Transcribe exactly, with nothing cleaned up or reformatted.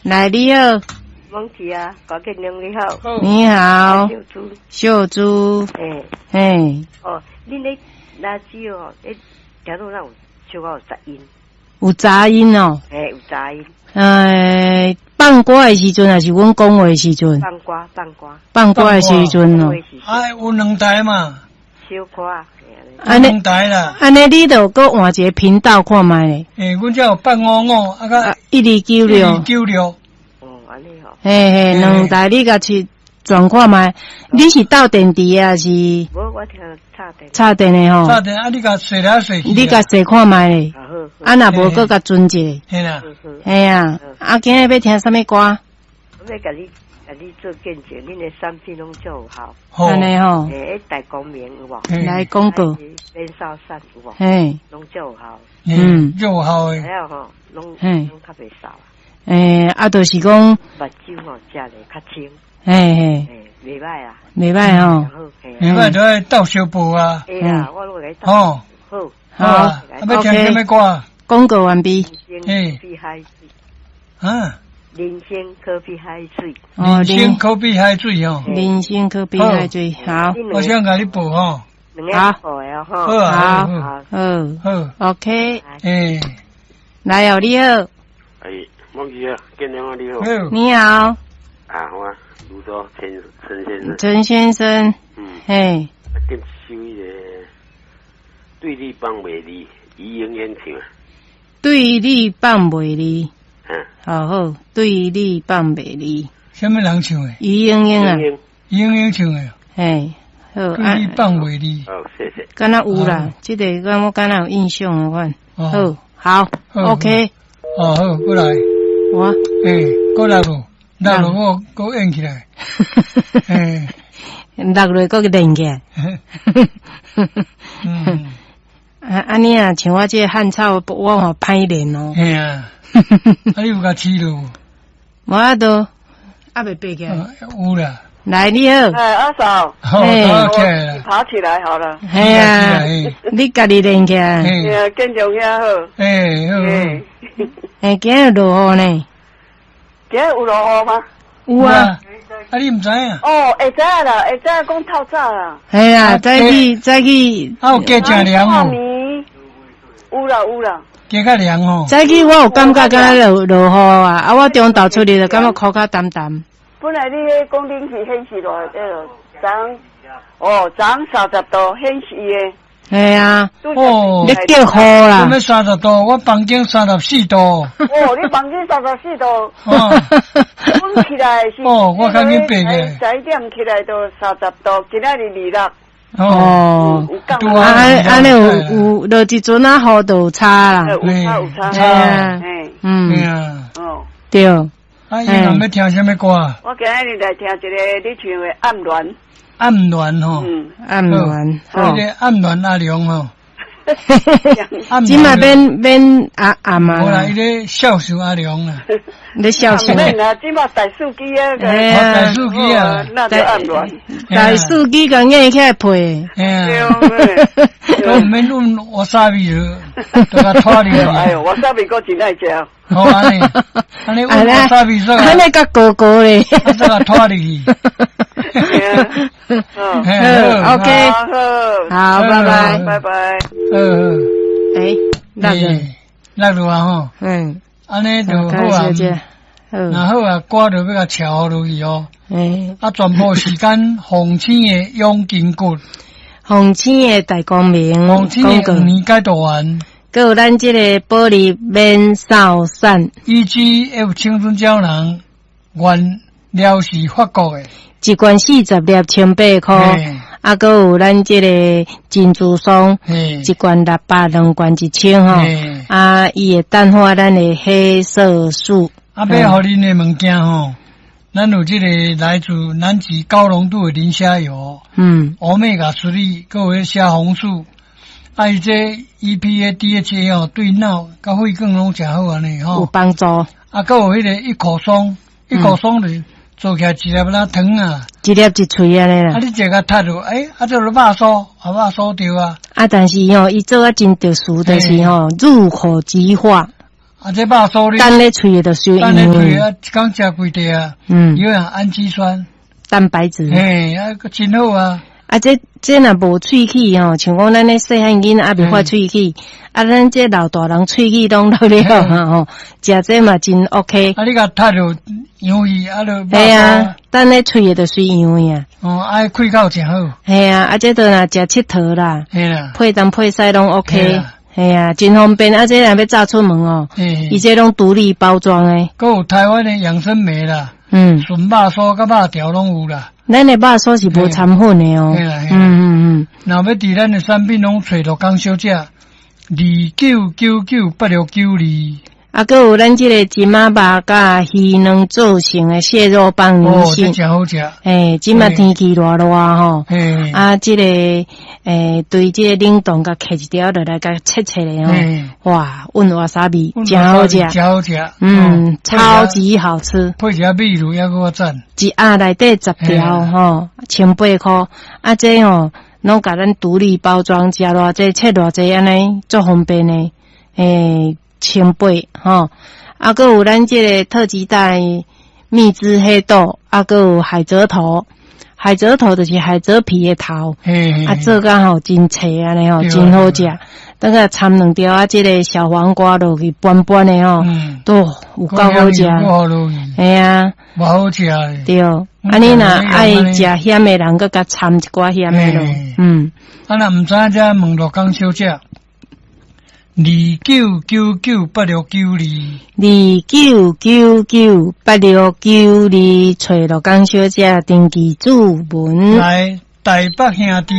來，你好。忘記啊，郭建良你好。你好。秀珠。秀珠。欸。嘿。哦，恁咧垃圾哦，咧聽到哪有小可有雜音？有雜音哦。嘿，有雜音。呃，放歌的時陣，還是阮講話的時陣？放歌，放歌。放歌的時陣哦。哎，有兩台嘛。小可。按呢，兩台啦。按呢，你著閣換一個頻道看覓咧。欸，阮這有八五五，啊閣一二九六。一二九六。嘿嘿，兩台你共去轉看覓？你是鬥電池的還是？無，我聽插電。插電的吼。插電啊！你共踅來踅去。你共踅看覓咧？啊，若無閣共轉一下。嘿啦。嘿啊！啊，今日欲聽啥物歌？我欲共你，共你做見證，恁的產品攏足有效。按呢吼。欸，大光明有無？來廣告。免掃散有無？嘿。攏足有效。嗯，足有效的。還有吼，攏攏較袂掃。欸，啊，就是講目睭吼，食咧較清。嘿嘿，袂歹啊，袂歹吼，袂歹就愛鬥相報啊。會啊，我攏會鬥。吼，好，好啊，欲聽啥物歌？廣告完畢。人生可比海水。啊？人生可比海水。人生可比海水哦。人生可比海水，好。我想共你報吼。好。好啊，好，好，好，OK。欸，來哦，你好。哎。忘記啊，建良啊，你好。你好。啊，好啊，盧州陳陳先生。陳先生。嗯。嘿。點首彼個對你放袂離，余英英唱。對你放袂離。嗯。好好，對你放袂離。啥物人唱的？余英英啊。余英英唱的。嘿，好。對你放袂離。好，謝謝。敢若有啦，這個我敢若有印象的款。好，好，OK。哦，好，過來。我，欸，閣落無？落落我閣按起來。欸，落落閣連起來。嗯。啊，按呢啊，像我這個漢草，我嘛歹練哦。嘿啊。啊，你有共飼落無？無法度，猶未爬起來。有啦。來，你好。哎，阿嫂。好，爬起來。爬起來好了。嘿啊，你家己練起來。嘿啊，建良兄好。欸，好。欸，今日落雨呢？今日有落雨嗎？有啊。啊，你毋知影？哦，會知影啦，會知影講透早啦。嘿啊，早起早起。啊，有加誠涼哦。有啦有啦。加較涼哦。早起我有感覺敢若落落雨啊，啊，我中晝出去就感覺箍較澹澹。本來你彼講冷氣顯示偌，彼個昨哦，昨昏三十度顯示的。嘿啊，哦，你叫雨啦？啥物三十度？我房間三十四度。哦，你房間三十四度。哦。阮起來是。哦，我較緊爬嘅。十一點起來都三十度，今仔日二六。哦。啊，按按呢有有落一陣仔雨就有差啦。有差有差。嗯。哦。對。啊，伊若欲聽啥物歌？我今日來聽一個你唱的《暗戀》。暗戀吼，暗戀，彼個暗戀阿良吼，這馬免免阿暗啊，無啦，伊咧孝順阿良啦，你孝順。免啦，這馬大手機啊，大手機啊，那就暗戀。大手機共硬起來配。都毋免阮わさび了，都共拖入去。哎喲，わさび閣真愛食。好按呢，按呢阮わさび說，按呢較高高咧，煞共拖入去。好，OK，好，拜拜，拜拜。嗯，欸，落落，落落啊吼。嗯，按呢就好啊。若好啊，歌就欲共撨落去哦。欸，啊，全部時間鳳青的養筋骨，鳳青的大光明，鳳青的黃連解毒丸，閣有咱這個保利免掃散，E G F 青春膠囊，原料是法國的。一罐四十粒，千八箍，啊，閣有咱這個珍珠霜，一罐六百，兩罐一千吼。啊，伊會淡化咱的黑色素。啊，欲予恁的物件吼，咱有這個來自南極高濃度的磷蝦油，嗯，歐米伽三，閣有彼蝦紅素，啊，伊這 E P A、D H A 哦，對腦佮血管攏誠好按呢吼，有幫助。啊，閣有彼個一口霜，一口霜就是。做起來一粒若糖啊，一粒一喙按呢啦。啊，你食共窒落，欸，啊，這就肉酥，啊，肉酥著啊。啊，但是吼，伊做啊真特殊，就是吼入口即化。啊，這肉酥你等咧喙的就收等咧喙啊，一工食幾塊啊？嗯，有氨基酸、蛋白質，嘿，啊，真好啊！啊，這這若無喙齒吼，像講咱咧細漢囡仔猶未發喙齒，啊，咱這老大人喙齒攏老了啊吼，食這嘛真 OK。啊，你共踢落洋芋啊，就嘿啊，等咧喙的就隨洋芋啊。哦，啊，開口真好。嘿啊，啊，這都若食𨑨迌啦，嘿啦，配東配西攏 OK。嘿啊，真方便。啊，這若欲紮出門哦，伊這攏獨立包裝的。閣有台灣的養生莓啦，嗯，純肉酥佮肉條攏有啦。咱的肉酥是無摻粉的哦。嗯嗯嗯。若欲佇咱的產品攏揣陸江小姐，二九九九八六九二。啊，閣有咱這個金仔肉佮魚卵做成的蟹肉棒銀杏，哦，這誠好食。嘿，這馬天氣熱熱吼，啊，這個欸，對這個冷凍共切一條落來，共切切的吼，哇，溫瓦薩比，誠好食，誠好食，嗯，超級好吃。配一下米露猶閣較讚。一盒內底十條吼，千八箍，啊，這吼攏共咱獨立包裝，食偌濟切偌濟，按呢足方便的，欸。千八吼，啊，閣有咱這個特級帶蜜汁黑豆，啊，閣有海蜇頭，海蜇頭就是海蜇皮的頭，啊，做甲吼真脆按呢吼，真好食。等下摻兩條啊，這個小黃瓜落去拌拌的吼，都有夠好食。嘿啊，偌好食。對，啊，你若愛食鹹的人，閣共摻一寡鹹的落。嗯，啊，若毋知影才問陸江小姐。二九九九八六九二，二九九九八六九二，揣陸江小姐登記注文。來，台北兄弟。